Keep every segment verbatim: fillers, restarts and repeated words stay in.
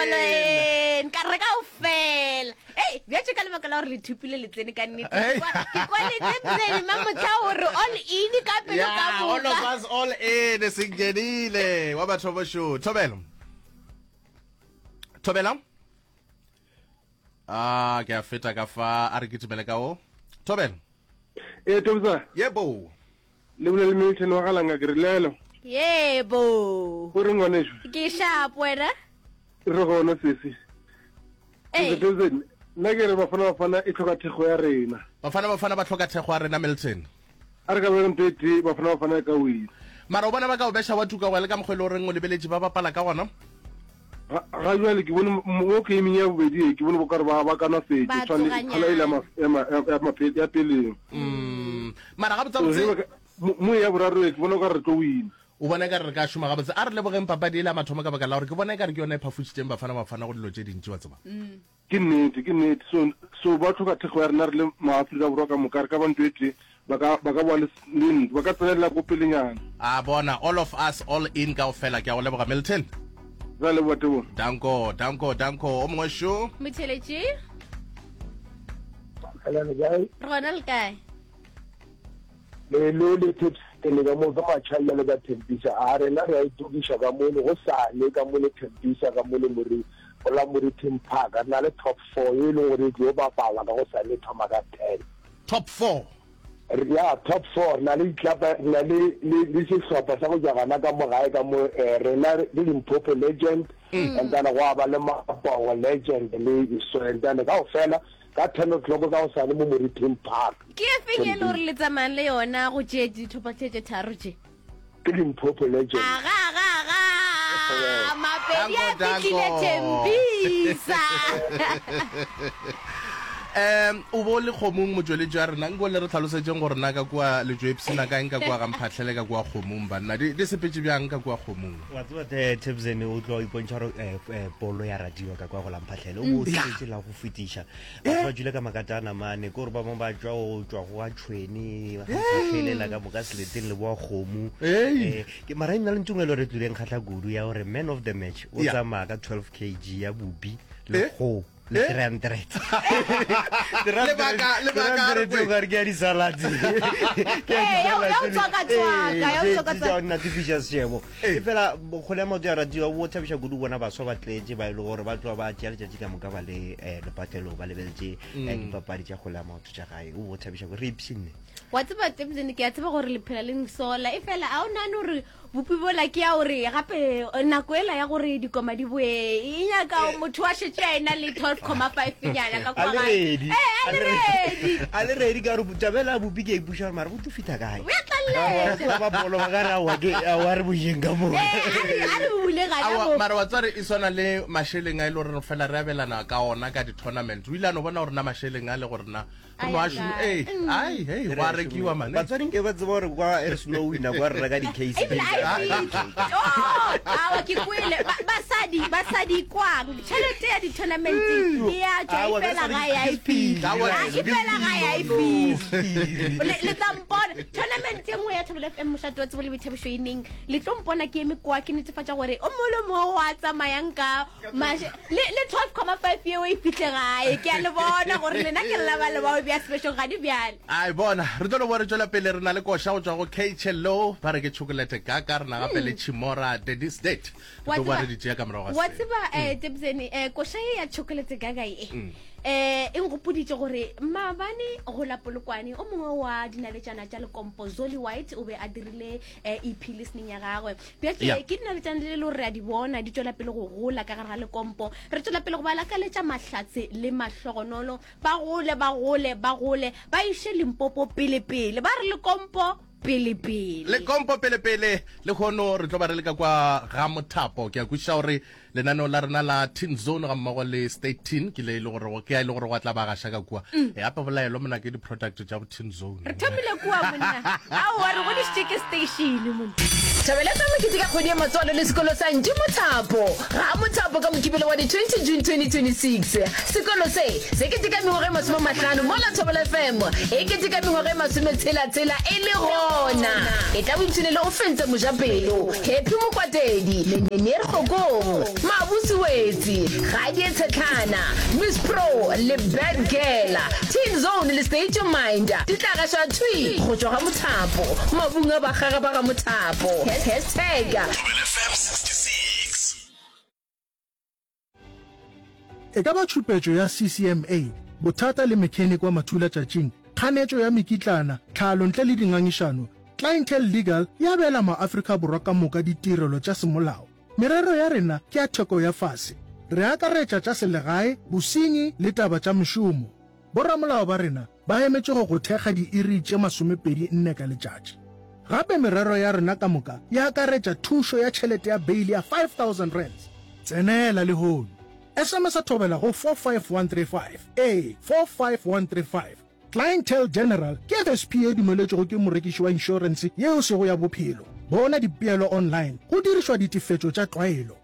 All in ka re kaofela. Ei, bjatše ka lebaka la gore le thupile le tsene ka nnete. Hey. Ke kwa- Ke kwa le tsene mamotla gore all in ka pelo ka Yeah, all of moka. us all in singenile wa batho bosho thobela thobela ah ke a feta ka fa a re kitimele ka o thobela ee tobisa yebo le bolele Milton wa galanga ke re lelo Yebo. o re ngwaneso Ke sharp wena. re gona sesi Ei. Tobisa, nna ke re bafana bafana e tlhoka thekgo ya rena bafana bafana ba tlhoka thekgo ya rena Milton a re ka bega ntho e tee bafana bafana e ka wina mara o bona ba ka o beša wa tuka wa le ka mokgwa e le goreng o lebeletše ba bapala ka gona Ga- ga jale ke bone mo gaming ya bobedi e ke bone bokare ba ba kana fetse Ba tshwane tsoganyana. kgala ile ya ma- ya ma- ya- ya mafe- ya peleng mm mara So, gabotsebotse ge ba ka- mo mo ya boraro e ke bona okare re tlo wina o bona ekare re ka šoma gabotse a re lebogeng papadi e le ya mathomo ka baka la gore ke bona ekare ke yona e phafošitšeng bafana bafana go dilo tše dintši wa tseba ke nnete ke nnete so so ba tlhoka thekgo ya rena re le maaforika borwa ka moka re ka ba ntho e tee ba ka ba ka boa le s- le ntlo ba ka tsenelela ko pelenyana a bona all of us all in kaofela ke a go leboga Milton ra leboa tebo danko danko danko o mongwe šo Motheletše. Hello, kae? Re gona le kae? Lelo le tips le ka mo ka matšhalla le ka Thembisa a rena re a itokiša ka mo le go sane ka mo le Thembisa ka mo le more go la Moriting Park re na le top four e leng gore e tlo bapala ka go sane e thoma ka ten top four Re- ya top four re na le ditlapa re na le le le sehlopha sa go tšwa gana ka mo gae ka mo eh, rena le Limpopo Legend and then gwa ba le Mapongo Legend le so and then kaofela ka ten o'clock ka go sane mo Moriting Park Ke e feng e le gore le tsamayang le yona go tše ditlhopha tše tše tharo tše? ke Limpopo Legend Aga aga aga. Mapedi a Danko, fihlile danko. Thembisa. um o bo le kgomong motsweletši wa rena nko le re tlhalosetšeng gore na ka kua letšoepsena kaeng ka kua gamphatlhele ka kua kgomong banna di di sepetše bjang ka kua kgomong wa tseba te Tebzen o tlo ipontšha gore eh, eh, polo ya radiwa ka kwa go lamphatlhele o bo o sepetse la go fetiša batho ba dule ka makatana mane ke gore ba bangwe ba tšwa go tšwa go a tšhwene ba gamphatlhelela ka moka seleteng le boa kgomo Ei. Eh, ke mara e nna le ntumelo re tlileng kgatlha kudu ya gore man of the match o Yeah. tsamaya ka twelve kg ya bubi le Eh? kgo le Eh? three hundred Lebaka- lebaka a re kwe. ke ya di-salad Eh, ya- ya ho tswaka-tswaka, ya ho tswaka-tswaka. natefiša sešebo e fela kgole ya maoto ya radiwa bo thabiša kudu bona baswa ba tletše ba e le gore ba tloa ba tšea letšatši ka moka ba le um lepatlelong ba lebeletše eh, dipapadi tša kgole ya maoto tša gae o bo thabiša kudu re ipshinne wa tseba Tebzen ke a tseba gore le phela le nsola e fela a o nagane gore bopi bola ke ya gore gape eh, nako ela ya gore dikoma di boe e nyaka motho wa šetse a ena le twelve comma five nyana ka a kwa le gae. ready Eh, a le ready a le ready ka gore tabela ya bopi ke a ipuša gore mara bo tlo fitha kae o ya tlaleletša ba bolo ba ka re aowa ke aowa re boyeng ka mo Eh, a re a re bule gana Aowa, mo mara wa tsware e swana le mašeleng a e le gore fela re abelana ka ona ka di-tournament o ile a no bona gore na mašeleng a le gore na A re no ya a šome- kae? ee, ai hei go a rekiwa mane batswadi nke ba tseba gore kwa e re seno wina kwa re reka di-case ebile a e fihle. Oh, awa ke kwele Ba- basadi basadi kwang tšhelete ya di-tournament e ya tšwa e Aowa, fela basadi ga ya e ke sephiri. fihle Aowa, Ah, e fela ga ya e fihle le le tla mpona tournament e nngwe ya Thobela F M mošate wa tsebo le boithabišo e neng le tlo mpona ke eme kwa ke netefatša gore o mongwe le mongwe wa tsamayang ka mashe le le twelve comma five yeo e fihle gae ke a le bona gore lena ke lla ba le bao bja sebešong ga di bjale ai bona re tlo no bo re tšwela pele re na le koša go tšwa go khlo ba re ke chocolate kaka re na gape le chimora daddy state re Wa tlo boa tseba- re di tšea ka morago ga wa se. tseba um tebsene um koša ye ya chocolate gaga e um e nkgopoditše gore maabane go la polokwane o mongwe wa dinaletšana tša lekompo zoli white o be a dirile um ep listening ya gagwe bjake Yeah. ke dinaletšana le le gore re a di bona di tšwela pele go gola ka gare ga lekompo re tšwela pele go ba lakaletša mahlatse le mahlogonolo ba gole ba gole ba gole ba iše limpopo pelepele ba re lekompo pelepele lekompo pelepele le kgono re tlo ba re le ka kwa ga mothapo ke a kwešiša gore lenaneo la rena la teen zone ga mmogo le state teen ke le e le gore ke a e le gore gwa tla ba gaša ka kua e gape bolaelo mona ke di-product tša bo teen zone re thomile kua monna aowa re godišitše ke station monna Thobela F M e keteka kgwedi ya matswalo le sekolo sa Ntši Mothapo ga Mothapo ka Mokibelo wa di twenty June twenty twenty-six. Sekolo se se keteka mengwaga e masome a mahlano mola Thobela F M e keteka mengwaga e masometshela-tshela e le gona. E tla boipshinele o fentse mojapelo Happy Mokwatedi, Meneer Kgokong, Mabusi Wetsi, Gadie Tshetlana, Miss Pro le Bad Girl, Teen Zone le State Your Mind di tla gašwa thwi go tšwa ga Mothapo, mabung a bakgaga ba ga Mothapo. Hashtag Thobela F M sixty-six. E ka ba tšhupetšo ya C C M A, bothata le mechanic wa mathulatšatšing, kganetšo ya mekitlana, tlhalo ntle le dingangišano, Clientele Legal e abela maAfrika Borwa ka moka ditirelo tša semolao. Merero ya rena ke ya theko ya fase. Re akaretša tša selegae, bosenyi le taba tša mešomo. Boramolao ba rena ba emetše go go thekga diiri tše masomepedi nne ka letšatši. Gape merero ya rena ka moka e akaretša thušo ya tšhelete ya beile ya five thousand rands. Tsenela lehono. S M S a thobela go four five one three five. Ee, four five one three five. Clientele General ke F S P e dumeletšwego ke morekiši wa inšorense yeo e sego ya bophelo. Bona dipeelo online go dirišwa ditefetšo tša tlwaelo.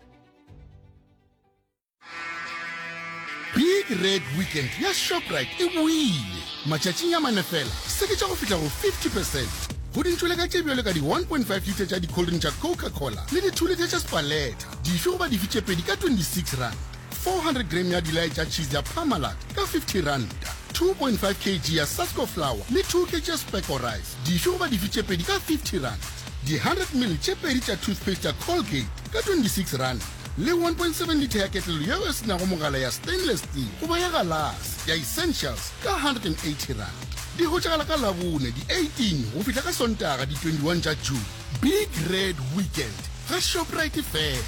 Big Red Weekend ya Shoprite e boile. Matšatšing a mane fela, seketša go fihla go fifty percent go dintšwele ka tše bjalo ka di one point five litre tša di-cold drink tša Coca-Cola le di two litre tša Spaleta, dife goba dife tše pedi ka twenty-six rand, four hundred gram ya dilae tša cheese ya Parmalat ka fifty ranta, two point five kg ya Sasko flour le two kg ya Specco rice, dife goba dife tše pedi ka fifty rand, di hundred ml tše pedi tša toothpaste ya Colgate ka twenty-six rand, le one point seven litre ya ketlelo yeo e se nago mogala ya stainless steel goba ya galase ya Essentials ka hundred and eighty rand. Di hwetšagala ka Labone di eighteen go fihla ka Sontaga di twenty-one tša June. Big Red Weekend ga Shoprite fela.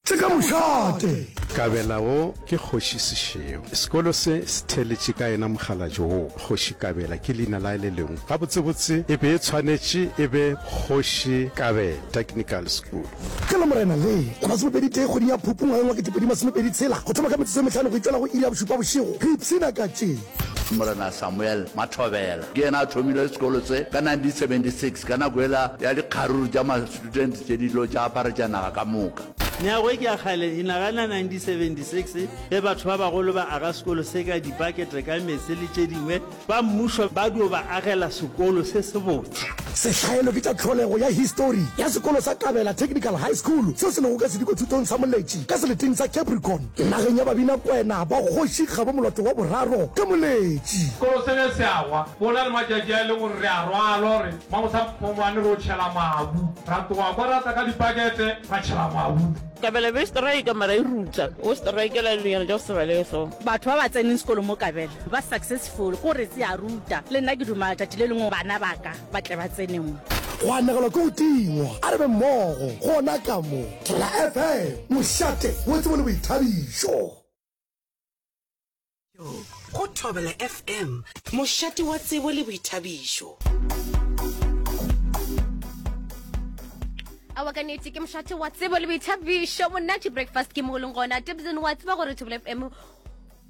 Tše ka mošate. Kabela wo ke Kgoši Sešego. Sekolo se se theletše ka yena mokgalabje wo. Kgoši Kabela ke leina la le lengwe. Gabotsebotse e be e tshwanetše e be Kgoši Kabela Technical School. Ka Lamorena le la masomepedi tee kgweding ya Phupu ngwageng wa ketepedi masomepedi tshela go thoma ka metsotso e mehlano go itšwela go iri ya bošupa bošego re ipshina ka tše. Morena Samuel Mathobela ke yena a thomile sekolo se ka nineteen seventy-six ka nako yela ya dikgaruru tša ma-student tše di ilo tša aparetša naga ka moka. Meago e ke ya kgale, e nagana nineteen seventy-six ge batho ba bagolo ba aga sekolo se ka dipakete ka meetse le tše dingwe, ba mmušo ba dio ba agela sekolo se sebotse. Sehlaelo ke tša tlholego ya histori ya sekolo sa Kabela Technical High School seo se lego ka sedikothutong sa Moletši ka seleteng sa Capricorn nageng ya Babinakwena ba Kgoši Kgabo Moloto wa boraro ka Moletši. Sekolo se ge se agwa, go na le matšatši a e leng gore re a rwalwa gore mamosa-phongwane re o tšhela mabu. Ra tloga kwa ra tla ka dipakete ra tšhela mabu. Kabela be strike mara e ruta. O strikela dilonyana tša go se balege so. Batho ba ba tseneng sekolo mo Kabela ba successful, ko re se a ruta. Le nna ke duma tšatši le lengwe bana ba ka ba tle ba tsene mo. Go anegelwa ke go tingwa, a re be mmogo gona ka mo Thobela F M, mošate wa tsebo le boithabišo. Go Thobela F M, mošate wa tsebo le boithabišo. Aowa ka nnete ke mošate wa tsebo le boithabišo. Monate breakfast ke mo leng gona. Tebsen wa tseba gore Thobela F M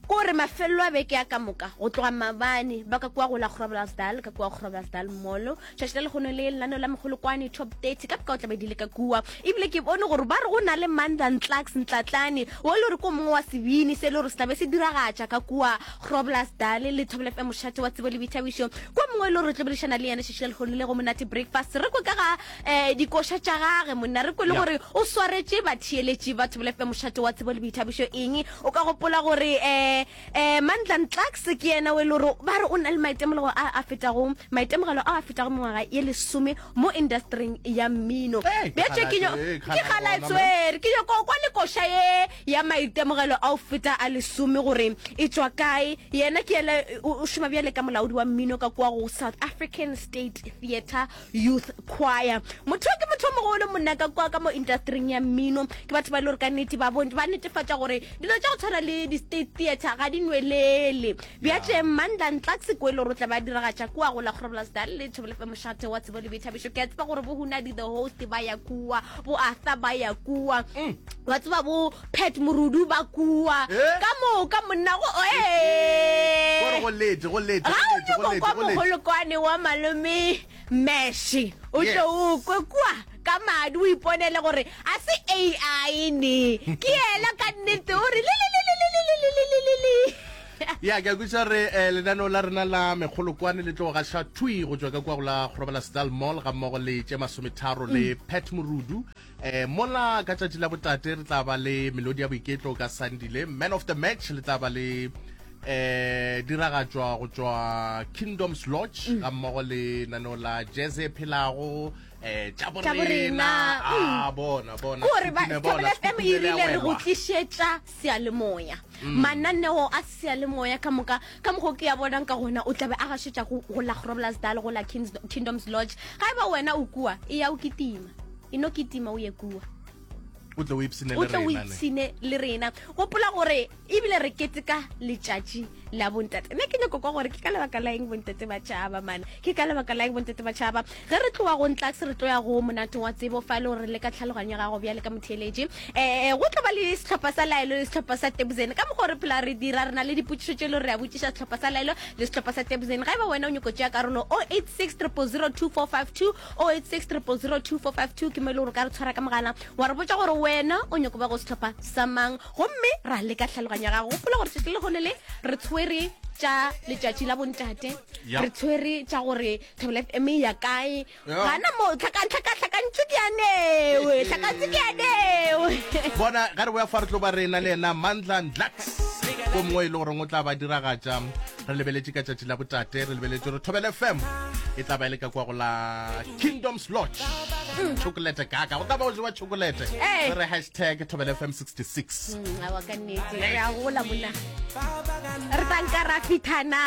kore mafelelo a beke ya ka moka go tloga mabane ba ka kua go la Groblersdal, ka kua Groblersdal Mall. Tšatši la lekgono le lenaneo la mogolokwane top thirty ka boka o tla be di le ka kua. Ebile ke bone gore ba re go na le Mandla Ntlaks Ntlatlane o le gore ko mongwe wa sebini se le gore se tla be se diragatša ka kua Groblersdal le Thobela F M mošate wa tsebo le boithabišo. Kwa mongwe e le gore re tlo boledišana le yena tšatši la lekgono le go Monate Breakfast. Re kwe ka ga, eh, dikoša tša gage monna, re kwe le Ya. gore o swaretše batheeletši ba Thobela F M mošate wa tsebo le boithabišo eng. O ka gopola gore, eh, eh, Mandla Ntlaks ke yena o e le gore ba re o na le maitemogelo a a fetago, maitemogelo a a fetago mengwaga ye lesome mo industryng ya mmino. Hey, ke Bjatše ke nyo- kgala- ke kgala kgala bona, tswere, ke nyako kwa le koša ye ya maitemogelo a o feta a lesome gore e tšwa kae. Yena ke yena, o, o šoma bjale ka molaodi wa mmino ka kwa go South African State Theatre Youth Choir. Motho ke motho o mogolo monna ka kwa ka mo industryng ya mmino. Ke batho ba e le gore ka nnete ba bon-, ba netefatša gore dilo tša go tshwana le di-state theatre ga di nwelele. Bjatše Mandla Ntlaks ke o e le gore o tla ba diragatša kua go la Groblersdal le Thobela F M mošate wa tsebo le boithabišo. Ke a tseba gore bo Hunadi the host ba ya kua, bo Arthur ba ya kua, Mm. wa tseba bo Pat Morudu ba kua. Eh? Ka moka monna go, eh. Gore go lete, go lete, Ga go o lete, go nyako lete, kwa go lete. mogolokwane wa malome Mesh o tlo o kwe kua ka madi o iponele gore a se A I ne ke yela ka nnete o re le le le le le le le le le le le. Ya, ke a kwešiša gore eh, lenaneo la rena la mekgolokwane le tlo gaša thwi go tšwa ka kua go la Groblersdal Mall ga mmogo le tše masometharo le Pat Morudu. eh, mola ka tšatši la botate re tla ba le melodi ya boiketlo ka Sandile, man of the match le tla ba le eh diragatšwa go tšwa Kingdoms Lodge ga mmogo le naneo la jazz e phelago eh tša Tša borena, borena. A bona bona Kore ba Sekhukhune bona, Thobela F M e Sekhukhune le a rile re go welwa. tlišetša seyalemoya, mananeo a seyalemoya ka moka ka mokgo ke ya bonang ka gona o tlabe a gašetša go go la Groblersdal, go la Kings, Kingdoms Lodge. Ga e ba wena o kua, e ya o kitima, e no kitima o ye kua. O tle o ipshine O le tle o rena ne. ipshine le rena. Gopola gore ebile re keteka letšatši la bontate. Nna ke nyako kwa gore ke ka lebaka la eng bontate ba tšhaba mane, ke ka lebaka la eng bontate ba tšhaba. Ge re tloga go Ntlaks, re tlo ya go monate wa tsebo fa e le gore le ka tlhaloganyo ya gago bjale ka motheeletši. um go tlo ba le sehlopha sa Laelo le sehlopha sa Tebozene. Ka mokgwa o re phela re dira, re na le dipotšišo tše e le gore re a botšiša sehlopha sa Laelo le sehlopha sa Tebozene. Ga e ba wena o nyako tšea karolo, oh eight six triple zero two four five two, oh eight six triple zero two four five two ke mo e le gore o ka re tshwara ka mogala wa re botša gore wena o nyako ba go sehlopha sa mang, gomme ra leka tlhaloganyo ya gago. Gopola gore tšatši le lehono le re tshwere tša letšatši la bontate, Ya. re tshwere tša gore Thobela F M e ya kae. Ya. Gana mo tlhakantšho ke yanewe, tlhakantšho ke yanewe. Bona ga re boya fa re tlo ba re na le yena Mandla Ndlax ko mongwe e le goreng o tla ba diragatša. Re lebeletše ka tšatši la botate, re lebeletše gore Thobela F M e tla ba e le ka kwa go la Kingdoms Lodge, chocolate kaka go tla ba go jewa chocolate. Eh. Re re hashtag Thobela F M sixty-six. Mm, awa ka nnete re a gola mona, re tla nka ra fithana.